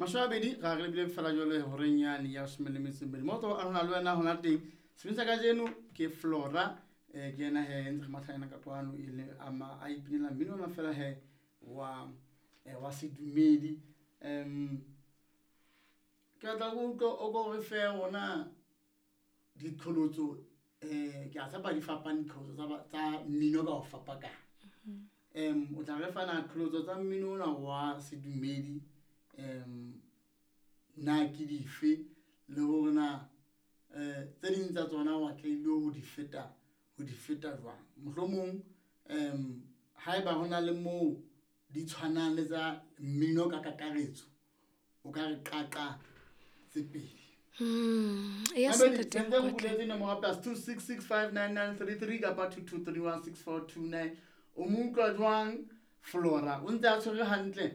20 ra re lebile fela jwale horeng yane ya 12. Mo tlo arona le wena hona teng. Sebini sa kajeno ke Flora, ke yena he ntse re matha yena ka kwano e le ama a ipinela mmino ona fela he wa wa sedumedi. Ke batla go utlwa o ko re fe ona diqholotso, ke a tshepa di fapane diqholotso tsa mmino ka ho fapakana. O tla re fana qholotso tsa mmino ona wa sedumedi, na ke dife le hore na tse ding tsa tsona wa tlaile ho di feta jwang. Mohlomong haeba hona le moo di tshwanang le tsa mmino ka kakaretso, o ka re qaqa tse pedi. Yes, Mabedi, ntate sentse re Mokotla. buletse nomoro plus 26659933 kapa 22316429. O mo utlwa jwang Flora? O ntse a tshwere hantle.